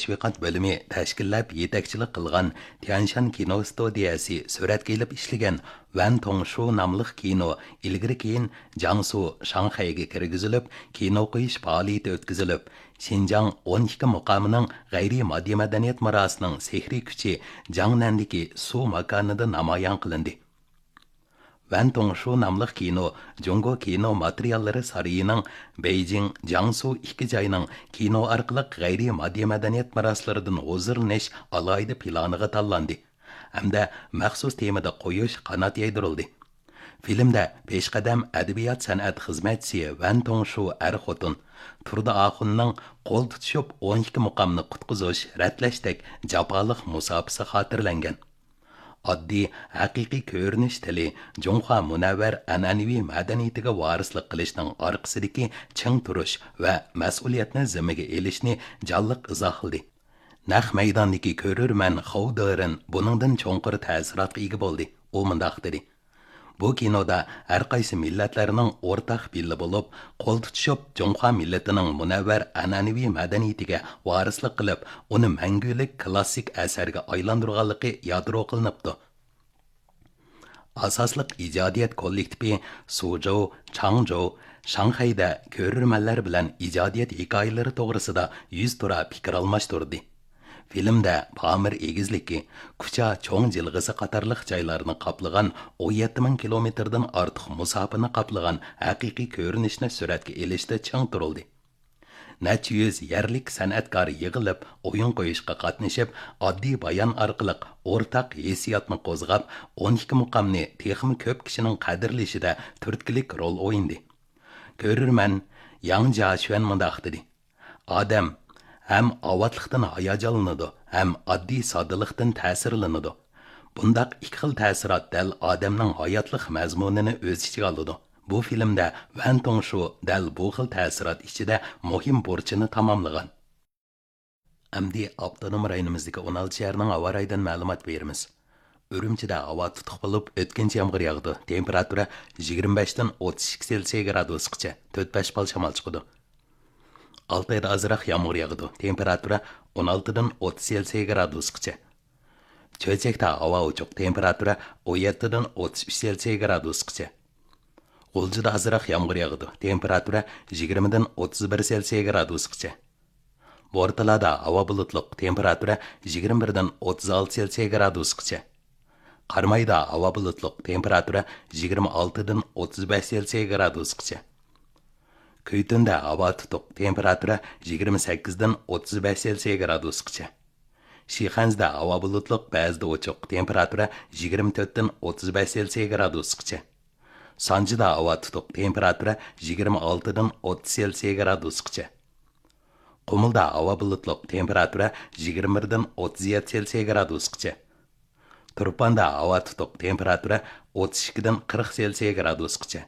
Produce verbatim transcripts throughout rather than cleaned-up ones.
تەشۋىقات بۆلۈمى تەشكىللەپ يېتەكچىلىك قىلغان تيەنشان كىنو ستۇدىيەسى سۈرەتكە ئېلىپ ئىشلىگەن ۋەن توڭشۇ ناملىق كىنو ئىلگىرى كېيىن جياڭسۇ، شاڭخەيگە كىرگۈزۈلۈپ، كىنو قويۇش پائالىيىتى ئۆتكۈزۈلۈپ، شىنجاڭ ئون ئىككى مۇقامىنىڭ غەيرىي ماددىي مەدەنىيەت مىراسىنىڭ سېھرىي كۈچى جياڭنەندىكى سۇ ماكانىدا نامايان قىلىندى. ۋەن توڭشۇ ناملىق كىنو جۇڭگو كىنو ماتېرىياللىرى سارىيىنىڭ بېيجىڭ، جياڭسۇ ئىككى جاينىڭ كىنو ئارقىلىق غەيرىي ماددىي مەدەنىيەت مىراسلىرىدىن ھۇزۇرلىنىش ئالاھىدە پىلانىغا تاللاندى ھەمدە مەخسۇس تېمىدا قويۇش قانات يايدۇرۇلدى. فىلىمدە پېشقەدەم ئەدەبىيات سەنئەت خىزمەتچىسى ۋەن توڭشۇ ئەر خوتۇن تۇردى ئاخۇننىڭ قول تۇتۇشۇپ ئون ئىككى مۇقامنى قۇتقۇزۇش، رەتلەشتەك جاپالىق مۇساپىسى خاتىرىلەنگەن. ئاددىي، ھەقىقىي كۆرۈنۈش تىلى جۇڭخۇا مۇنەۋۋەر ئەنئەنىۋى مەدەنىيىتىگە ۋارىسلىق قىلىشنىڭ ئارقىسىدىكى چىڭ تۇرۇش ۋە مەسئۇلىيەتنى زىممىگە ئېلىشنى جانلىق ئىزاھلىدى. نەق مەيداندىكى كۆرۈرمەن خاۋ دېرېن بۇنىڭدىن چوڭقۇر تەسىراتقا ئىگە بولدى. ئۇ مۇنداق دېدى: بۇ كىنودا ھەر قايسى مىللەتلەرنىڭ ئورتاق بىللە بولۇپ، قول تۇتۇشۇپ، جۇڭخۇا مىللىتىنىڭ مۇنەۋۋەر ئەنئەنىۋى مەدەنىيىتىگە ۋارىسلىق قىلىپ، ئۇنى مەڭگۈلۈك كىلاسسىك ئەسەرگە ئايلاندۇرغانلىقى يادرو قىلىنىپتۇ. ئاساسلىق ئىجادىيەت كوللېكتىپى سۇجوۋ، چاڭجوۋ شاڭخەيدە كۆرۈرمەنلەر بىلەن ئىجادىيەت ھېكايىلىرى توغرىسىدا يۈزتۇرا پىكىر ئالماشتۇردى. فىلىمدە پامىر ئېگىزلىكى، كۇچا چوڭ جىلغىسى قاتارلىق جايلارنى قاپلىغان، ئون يەتتە مىڭ كىلومېتىردىن ئارتۇق مۇساپىنى قاپلىغان ھەقىقىي كۆرۈنۈشنى سۈرەتكە ئېلىشتا چىڭ تۇرۇلدى. نەچچە يۈز يەرلىك سەنئەتكار يىغىلىپ، ئويۇن قويۇشقا قاتنىشىپ، ئاددىي بايان ئارقىلىق ئورتاق ھېسسىياتنى قوزغاپ، ئون ئىككى مۇقامنى تېخىمۇ كۆپ كىشىنىڭ قەدىرلىشىدە تۈرتكىلىك رول ئوينىدى. كۆرۈرمەن ياڭ جياشۈەن مۇنداق دېدى: ئادەم ھەم ئاۋاتلىقتىن ھاياجانلىنىدۇ، ھەم ئاددىي ساددىلىقتىن تەسىرلىنىدۇ. بۇنداق ئىككى خىل تەسىرات دەل ئادەمنىڭ ھاياتلىق مەزمۇنىنى ئۆز ئىچىگە ئالىدۇ. بۇ فىلىمدە ۋەن توڭشۇ دەل بۇ خىل تەسىرات ئىچىدە مۇھىم بۇرچىنى تاماملىغان. ئەمدى ئاپتونوم رايونىمىزدىكى ئون ئالتە شەھەرنىڭ ھاۋا رايىدىن مەلۇمات بېرىمىز. ئۈرۈمچىدە ھاۋا تۇتۇق بولۇپ، ئۆتكۈنچى يامغۇر ياغىدۇ. تېمپېراتۇرا يىگىرمە بەشتىن ئوتتۇز ئىككى سېلسىيە گرادۇسقىچە، تۆت بەش بال شامال چىقىدۇ. ئالتايدا ئازراق يامغۇر ياغىدۇ. تېمپېراتۇرا ئون ئالتىدىن ئوتتۇز سېلسىيە گرادۇسقىچە. چۆچەكتە ھاۋا ئوچۇق. تېمپېراتۇرا ئون يەتتىدىن ئوتتۇز ئۈچ سېلسىيە گرادۇسقىچە. غۇلجىدا ئازراق يامغۇر ياغىدۇ. تېمپېراتۇرا يىگىرمىدىن ئوتتۇز بىر سېلسىيە گرادۇسقىچە. بورتالادا ھاۋا بۇلۇتلۇق، تېمپېراتۇرا يىگىرمە بىردىن ئوتتۇز ئالتە سېلسىيە گرادۇسقىچە. قارامايدا ھاۋا بۇلۇتلۇق، تېمپېراتۇرا يىگىرمە ئالتىدىن ئوتتۇز بەش سېلسىيە گرادۇسقىچە. كۈيتۈندە ھاۋا تۇتۇق، تېمپېراتۇرا يىگىرمە سەككىزدىن ئوتتۇز بەش سېلسىيە گرادۇسقىچە. شىخەنزىدە ھاۋا بۇلۇتلۇق، بەزىدە ئوچۇق، تېمپېراتۇرا يىگىرمە تۆتتىن ئوتتۇز بەش سېلسىيە گرادۇسقىچە. سانجىدا ھاۋا تۇتۇق، تېمپېراتۇرا يىگىرمە ئالتىدىن ئوتتۇز سېلسىيە گرادۇسقىچە. قۇمۇلدا ھاۋا بۇلۇتلۇق، تېمپېراتۇرا يىگىرمە بىردىن ئوتتۇز يەتتە سېلسىيە گرادۇسقىچە. تۇرپاندا ھاۋا تۇتۇق، تېمپېراتۇرا ئوتتۇز ئىككىدىن قىرىق سېلسىيە گرادۇسقىچە.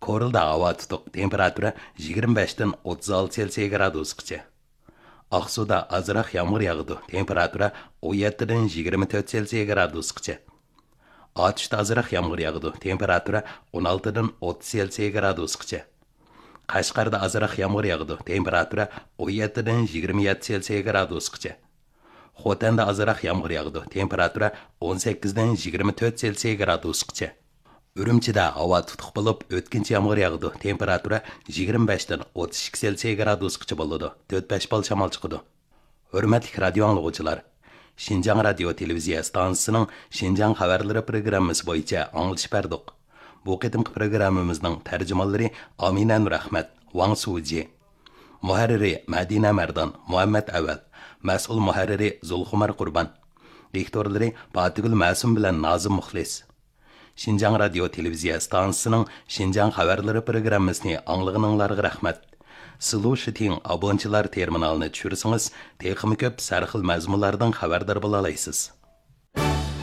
كورلىدا ھاۋا تۇتۇق، تېمپېراتۇرا يىگىرمە بەشتىن ئوتتۇز ئالتە سېلسىيە گرادۇسقىچە. ئاقسۇدا ئازراق يامغۇر ياغىدۇ، تېمپېراتۇرا ئون يەتتىدىن يىگىرمە تۆت سېلسىيە گرادۇسقىچە. ئاتۇشتا ئازراق يامغۇر ياغىدۇ، تېمپېراتۇرا ئون ئالتىدىن ئوتتۇز سېلسىيە گرادۇسقىچە. قەشقەردە ئازراق يامغۇر ياغىدۇ، تېمپېراتۇرا ئون يەتتىدىن يىگىرمە يەتتە سېلسىيە گرادۇسقىچە. خوتەندە ئازراق يامغۇر ياغىدۇ، تېمپېراتۇرا ئون سەككىزدىن يىگىرمە تۆت سېلسىيە گرادۇسقىچە. ئۈرۈمچىدە ھاۋا تۇتۇق بولۇپ، ئۆتكۈنچى يامغۇر ياغىدۇ، تېمپېراتۇرا يىگىرمە بەشتىن ئوتتۇز ئىككى سېلسىيە گرادۇسقىچە بولىدۇ، تۆت بەش بال شامال چىقىدۇ. ھۆرمەتلىك رادىيو ئاڭلىغۇچىلار، شىنجاڭ رادىيو تېلېۋىزىيە ئىستانسىسىنىڭ شىنجاڭ خەۋەرلىرى پروگراممىسى بويىچە ئاڭلىتىش بەردۇق. بۇ قېتىمقى پروگراممىمىزنىڭ تەرجىمانلىرى ئامىنە نۇرئەخمەت، ۋاڭ سۇجى. مۇھەررىرى مەدىنە مەردان، مۇھەممەت ئەۋەل. مەسئۇل مۇھەررىرى زۇلخۇمار قۇربان. دىكتورلىرى پاتىگۈل مەسۇم بىلەن نازىم مۇخلىس. شىنجاڭ رادىيو تېلېۋىزىيە ئىستانسىسىنىڭ شىنجاڭ خەۋەرلىرى پروگراممىسىنى ئاڭلىغىنىڭلارغا رەھمەت. سىلۇشىتىڭ ئابونچىلار تېرمىنالىنى چۈشۈرسىڭىز، تېخىمۇ كۆپ سەرخىل مەزمۇنلاردىن خەۋەردار بولالايسىز.